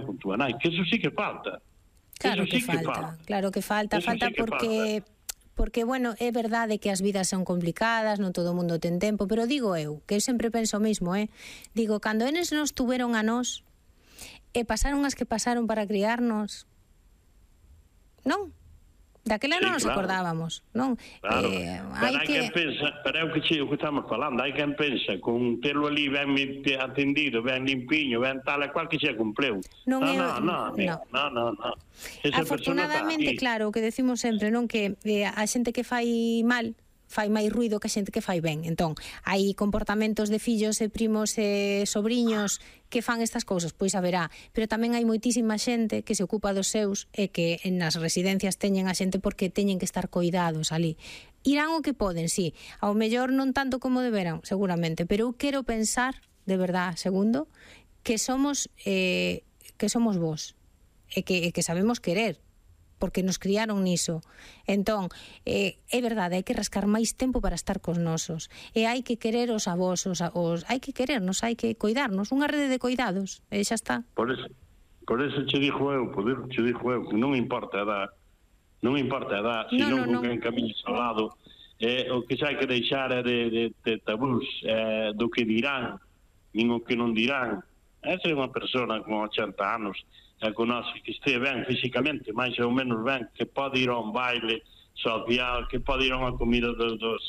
con túa nai, que eso sí que falta. Claro que falta, falta porque, bueno, é verdade que as vidas son complicadas, non todo o mundo ten tempo, pero digo eu, que eu sempre penso o mismo, digo, cando eles nos tuveron a nós, e pasaron as que pasaron para criarnos, non? Daquela non nos acordábamos, non? Claro, pero hai quen pensa, pero é o que estamos falando, hai quen pensa con telo ali ben atendido, ben limpiño, ben tal e cual que xa cumpleu. Non. Afortunadamente, claro, o que decimos sempre, non, que a xente que fai mal fai máis ruido que a xente que fai ben. Entón, hai comportamentos de fillos e primos e sobriños que fan estas cousas, pois haberá, pero tamén hai moitísima xente que se ocupa dos seus e que nas residencias teñen a xente porque teñen que estar coidados ali. Irán o que poden, sí, ao mellor non tanto como deberán, seguramente, pero eu quero pensar, de verdad, segundo, que somos vos e que sabemos querer, porque nos criaron niso. Entón, é verdade, hai que rascar máis tempo para estar cos nosos, e hai que querer os avós, hai que querernos, hai que coidarnos, unha rede de coidados, e xa está. Por eso che dixo eu, que non importa a edad, senón con quen camiñes ao lado, o que xa hai que deixar é de tabús, do que dirán, nin o que non dirán. Esa é unha persona con 80 anos, que conoce que este ben físicamente, máis ou menos ben, que pode ir a un baile social, que pode ir a unha comida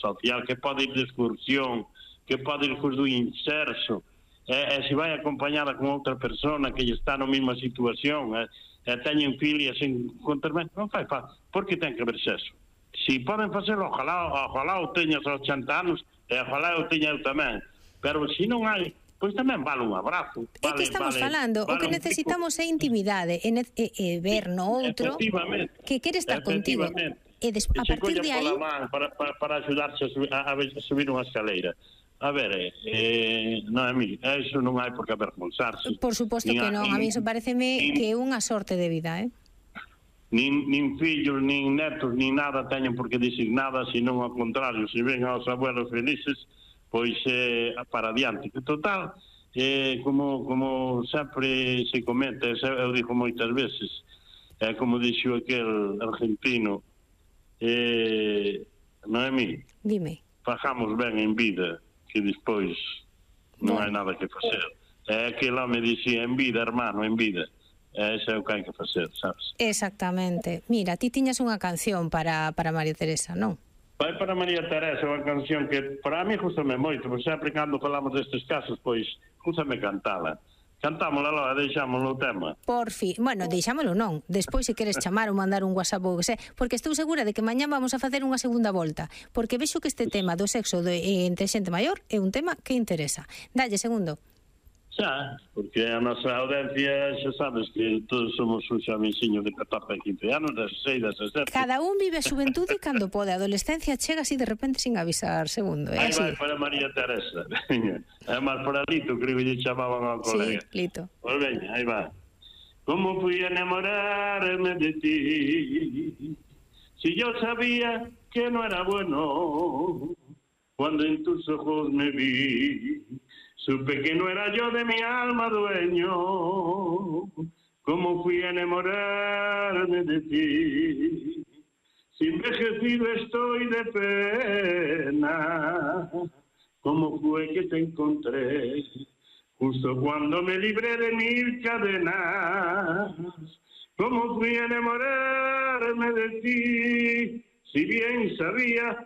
social, que pode ir de excursión, que pode ir do inserso, e se vai acompañada con outra persona que está na mesma situación, e teñen filias en contermen, non fai falta, porque ten que ver sexo. Se poden facelo, ojalá o teñas aos 80 anos, e ojalá o teña eu tamén, pero se non hai, pois tamén vale un abrazo. É que estamos falando, o que necesitamos é intimidade, e ver no outro que quere estar contigo. E a partir de aí... para axudarse a subir unha escaleira. A ver, Noemí, eso non hai por que avergonzarse. Por suposto que non, a mí iso pareceme que é unha sorte de vida, Nin fillos, nin netos, nin nada teñen por que dicir nada, senón ao contrario, se ven aos abuelos felices, pois para adiante. Que total, como sempre se comenta, eu digo moitas veces, como dixo aquel argentino, Noemí, dime, fajamos ben en vida, que despois non hai nada que facer. Aquel home dixía, en vida, hermano, en vida. Ese é o que hai que facer, sabes? Exactamente. Mira, ti tiñas unha canción para María Teresa, non? Vai para María Teresa, unha canción que para mí gustame moito, pois sempre cando falamos destes casos, pois gustame cantala. Cantámola logo, deixámoslo o tema. Por fin, bueno, deixámoslo non. Despois se queres chamar ou mandar un WhatsApp ou que sei, porque estou segura de que mañá vamos a facer unha segunda volta, porque vexo que este tema do sexo entre xente maior é un tema que interesa. Dalle, segundo. Xa, porque a nosa audiencia xa sabes que todos somos un xamenciño de 14 e 15 anos, 16, 17. Cada un vive a xuventude cando pode. A adolescencia chega así de repente sin avisar, segundo. Aí vai para María Teresa. É máis para Lito, creo que lle chamaban ao colega. Sí, Lito. Pois veña, aí va. Como fui a enamorarme de ti, si yo sabía que no era bueno, cuando en tus ojos me vi, supe que no era yo de mi alma dueño. Como fui a enamorarme de ti, si envejecido estoy de pena. Como fue que te encontré justo cuando me libré de mil cadenas. Como fui a enamorarme de ti, si bien sabía